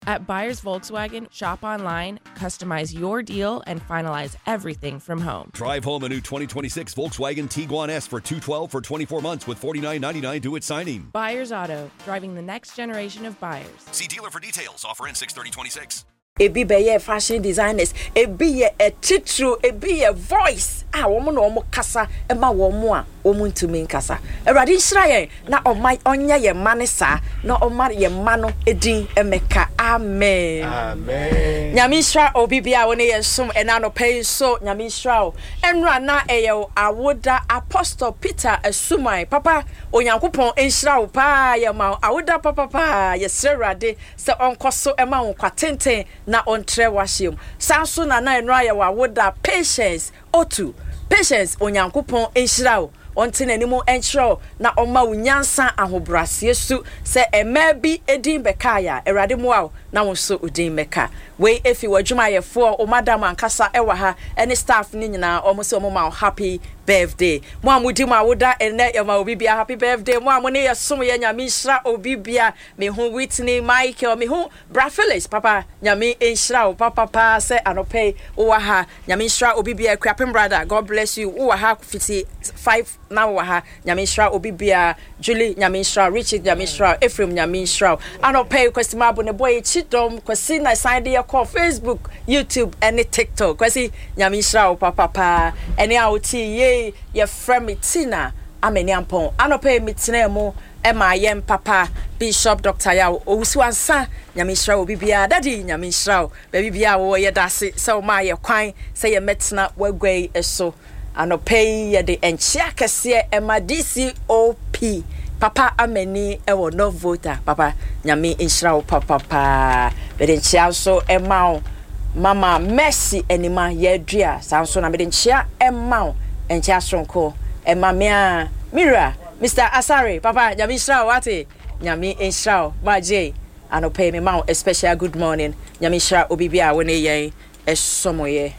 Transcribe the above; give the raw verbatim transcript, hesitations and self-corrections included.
At Buyers Volkswagen, shop online, customize your deal, and finalize everything from home. Drive home a new twenty twenty-six Volkswagen Tiguan S for two twelve for twenty-four months with forty-nine ninety-nine due at signing. Buyers Auto, driving the next generation of buyers. See dealer for details. Offer ends six thirty twenty-six. Ebi bɛyɛ fashion designers, ebi yɛ etitiro, ebi yɛ voice a wɔn na wɔn kasa ma wɔn a wɔn ntumi nkasa. Awurade nhyira yɛn na ɔma ɔnyɛ yɛn mma ne saa na ɔma yɛn mma no edin mmɛka. Amen. Amen. Nyame nhyira obi bia a wɔne yɛn som ɛna anɔpa yi nso. Nyame nhyira wo. Ɛnora na ɛyɛ wo awoda, Apostle Peter Asuman. Papa, Onyankopɔn nhyira wo paa, yɛ ma wo awoda papapaa. Yɛsrɛ Awurade sɛ ɔnkɔ so ɛma wo nkwa tenten na ɔntrɛ w'ahyɛ mu. Saa nso na na ɛnora yɛ wo awoda, Patience Otu. Patience, Onyankopɔn nhyira wo. Ɔnte n'anim nkyerɛ wo na ɔma wo nyansa ahobrɛaseɛ su sɛ mmaa bi edin bɛkaeɛ a, Awurade mmoa wo na wo nso wo din bɛka. Wei efi w'adwumayɛfoɔ, wo madam ankasa ɛwɔ ha ɛne staff no nyinaa, ɔmo sɛ ɔmo ma wo happy birthday. Mo a modi mo awoda ɛnnɛ, yɛma obi bia happy birthday. Mo a mo ne yɛ som yɛ, Nyame nhyira obi bia. Mehu Whitney Michael, mehu Bra Phyllis, papa Nyame nhyira wo papapaa sɛ anɔpɛ yi wowɔ ha. Nyame nhyira obi bia. Akuapem brother, God bless you. Wowɔ ha fiti five na wowɔ ha. Nyame nhyira obi bia. Julie, Nyame nhyira wo. Richard, Nyame nhyira wo. Ephraim, Nyame nhyira wo. Anɔpɛ yi Kwasi Mabo ne bɔ yɛ kyidɔm. Kwasi na san de yɛ kɔ Facebook, YouTube ɛne TikTok. Kwasi, Nyame nhyira wo papapaa. Ɛne a wote yie, yɛfrɛ me Tina Amani Ampɔn. Anɔpɛ yi metena mu ɛma yɛn papa Bishop Doctor Yaw Owusu Ansa. Nyame nhyira wo bibiara. Daddy, Nyame nhyira wo. Baabi biara wɔ yɛda ase sɛ wo maa yɛ kwan sɛ yɛmmɛtena w'agua yi so. Anɔpɛ yi yɛde nkyea kɛseɛ ɛma D C O P Papa Amani ɛwɔ North Volta. Papa, Nyame nhyira wo papapaa. Mede nkyea nso ɛma wo Mama Mercy Anima yɛadua. Saa nso na mede nkyea ɛma wo, nkyea soronko ɛma me a mewura Mister Asare. Papa, Nyame nhyira wo, wate. Nyame nhyira wo. Magye anɔpɛ yi mema wo a special good morning. Nyame nhyira obi bi a wo ne yɛn ɛsɔmɔyɛ.